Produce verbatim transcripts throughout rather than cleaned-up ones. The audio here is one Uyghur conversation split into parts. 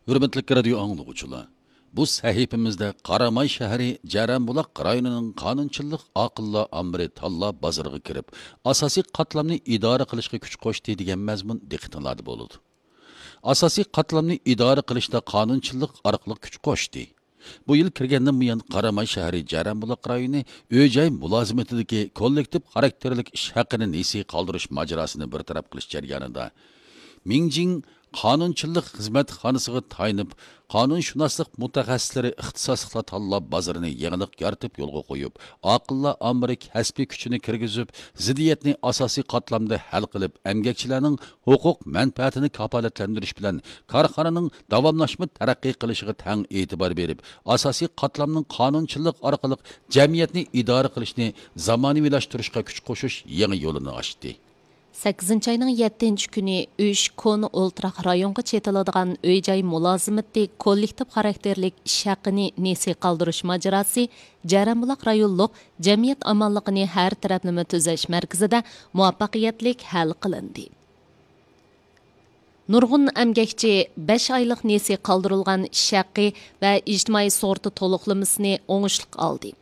ھۆرمەتلىك رادىيو ئاڭلىغۇچىلار، بۇ سەھىپىمىزدە قاراماي شەھىرى جەرەنبۇلاق رايونىنىڭ قانۇنچىلىق ئاقىللار ئامبىرى تاللا بازىرىغا كىرىپ، ئاساسىي قاتلامنى ئىدارە قىلىشقا كۈچ قوشتى دېگەن مەزمۇن دىققىتىڭلاردا بولىدۇ. ئاساسىي قاتلامنى ئىدارە قىلىشتا قانۇنچىلىق ئارقىلىق كۈچ قوشتى. بۇ يىل كىرگەندىن بۇيان، قاراماي شەھىرى جەرەنبۇلاق رايونى ئۆي-جاي مۇلازىمىتىدىكى كوللېكتىپ خاراكتېرلىك ئىش ھەققىنى نېسى قالدۇرۇش ماجىراسىنى بىر تەرەپ قىلىش جەريانىدا، مىڭجىڭ قانۇنچىلىق خىزمەتخانىسىغا تايىنىپ، قانۇنشۇناسلىق مۇتەخەسسىسلىرى ئىختىساسلىقلار تاللاپ بازىرىنى يېڭىلىق يارىتىپ يولغا قويۇپ، ئاقىللار ئامبىرى كەسپىي كۈچىنى كىرگۈزۈپ، زىددىيەتنى ئاساسىي قاتلامدا ھەل قىلىپ، ئەمگەكچىلەرنىڭ ھوقۇق مەنپەئەتىنى كاپالەتلەندۈرۈش بىلەن كارخانىنىڭ داۋاملاشما تەرەققىي قىلىشىغا تەڭ ئېتىبار بېرىپ، ئاساسىي قاتلامنىڭ قانۇنچىلىق ئارقىلىق جەمئىيەتنى ئىدارە قىلىشنى زامانىۋىلاشتۇرۇشقا كۈچ قوشۇش يېڭى يولىنى ئاچتى. سەككىزىنچى ئاينىڭ يەتتىنچى كۈنى ئۈچ كونا ئولتۇراق رايونغا چېتىلىدىغان ئۆي-جاي مۇلازىمىتى كوللېكتىپ خاراكتېرلىك ئىش ھەققىنى نېسى قالدۇرۇش ماجىراسى جەرەنبۇلاق رايونلۇق جەمئىيەت ئامانلىقىنى ھەر تەرەپلىمە تۈزەش مەركىزىدە مۇۋەپپەقىيەتلىك ھەل قىلىندى. نۇرغۇن ئەمگەكچى بەش ئايلىق نېسى قالدۇرۇلغان ئىش ھەققى ۋە ئىجتىمائىي سۇغۇرتا تولۇقلىمىسىنى ئوڭۇشلۇق ئالدى.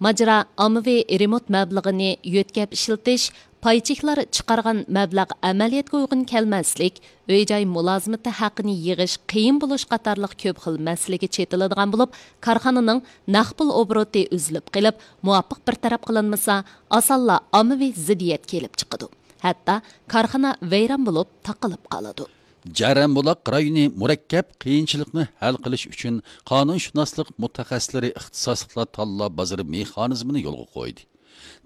ماجىرا ئاممىۋى رېمونت مەبلىغىنى يۆتكەپ ئىشلىتىش، پاي چېكلار چىقارغان مەبلەغ ئەمەلىيەتكە ئۇيغۇن كەلمەسلىك، ئۆي-جاي مۇلازىمىتى ھەققىنى يىغىش قىيىن بولۇش قاتارلىق كۆپ خىل مەسىلىگە چېتىلىدىغان بولۇپ، كارخانىنىڭ نەق پۇل ئوبوروتى ئۈزۈلۈپ قېلىپ، مۇۋاپىق بىر تەرەپ قىلىنمىسا، ئاسانلا ئاممىۋى زىددىيەت كېلىپ چىقىدۇ. ھەتتا كارخانا ۋەيران بولۇپ تاقىلىپ قالىدۇ. جەرەنبۇلاق رايونى مۇرەككەپ قىيىنچىلىقنى ھەل قىلىش ئۈچۈن قانۇنشۇناسلىق مۇتەخەسسىسلىرى ئىختىساسلىقلار تاللاپ بازىرى مېخانىزمىنى يولغا قويدى.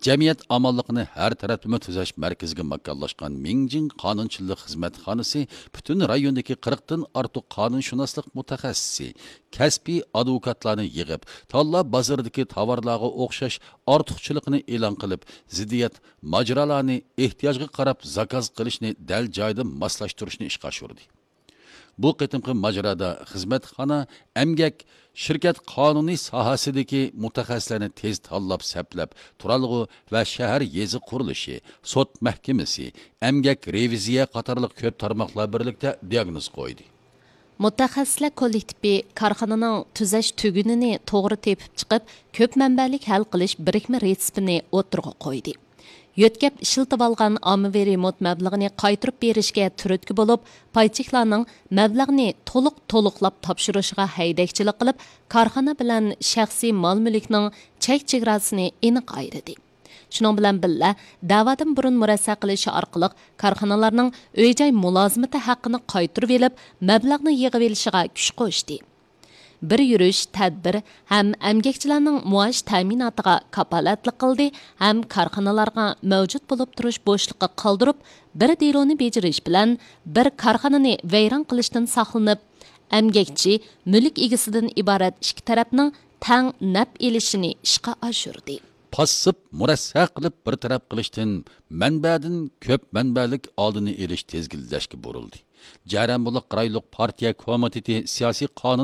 جەمئىيەت ئامانلىقىنى ھەر تەرەپلىمە تۈزەش مەركىزىگە ماكانلاشقان مىڭجىڭ قانۇنچىلىق خىزمەتخانىسى پۈتۈن رايوندىكى قىرىقتىن ئارتۇق قانۇنشۇناسلىق مۇتەخەسسىسى، كەسپىي ئادۋوكاتلارنى يىغىپ، تاللا بازىرىدىكى تاۋارلارغا ئوخشاش ئارتۇقچىلىقنى ئېلان قىلىپ، زىددىيەت ماجىرالارنى ئېھتىياجغا قاراپ زاكاز قىلىشنى دەل جايىدا ماسلاشتۇرۇشنى ئىشقا ئاشۇردى. بۇ قېتىمقى ماجىرادا خىزمەتخانا، ئەمگەك، شىركەت قانۇنى ساھەسىدىكى مۇتەخەسسىسلەرنى تېز تاللاپ سەپلەپ، تۇرالغۇ ۋە شەھەر يېزا قۇرۇلۇشى، سوت مەھكىمىسى، ئەمگەك رېۋىزىيە قاتارلىق كۆپ تارماقلار بىرلىكتە دىياگنوز قويدى. مۇتەخەسسىسلەر كوللېكتىپى كارخانىنىڭ تۈزەش تۈگۈنىنى توغرا تېپىپ چىقىپ، كۆپ مەنبەلىك ھەل قىلىش بىرىكمە رېتسېپىنى ئوتتۇرىغا قويدى. يۆتكەپ ئىشلىتىۋالغان ئاممىۋى رېمونت مەبلىغىنى قايتۇرۇپ بېرىشكە تۈرتكە بولۇپ، پايچېكلارنىڭ مەبلەغنى تولۇق تولۇقلاپ تاپشۇرۇشىغا ھەيدەكچىلىك قىلىپ، كارخانا بىلەن شەخسىي مال-مۈلۈكنىڭ چەك-چېگراسىنى ئېنىق ئايرىدى. شۇنىڭ بىلەن بىللە، دەۋادىن بۇرۇن مۇرەسسە قىلىش ئارقىلىق كارخانىلارنىڭ ئۆي-جاي مۇلازىمىتى ھەققىنى قايتۇرۇۋېلىپ، مەبلەغنى يىغىۋېلىشىغا كۈچ قوشتى. بىر يۈرۈش تەدبىر ھەم ئەمگەكچىلەرنىڭ مائاش تەمىناتىغا كاپالەتلىك قىلدى ھەم كارخانىلارغا مەۋجۇت بولۇپ تۇرۇش بوشلۇقى قالدۇرۇپ، بىر دېلونى بېجىرىش بىلەن بىر كارخانىنى ۋەيران قىلىشتىن ساقلىنىپ، ئەمگەكچى، مۈلۈك ئىگىسىدىن ئىبارەت ئىككى تەرەپنىڭ تەڭ نەپ ئېلىشىنى ئىشقا ئاشۇردى. پاسسىپ مۇرەسسە قىلىپ بىر تەرەپ قىلىشتىن مەنبەدىن كۆپ مەنبەلىك ئالدىنى ئېلىش تىزگىنلەشكە بۇرۇلدى. جەرەنبۇلاق رايونلۇق پارتىيە كومىتېتى سىياسىي قانۇن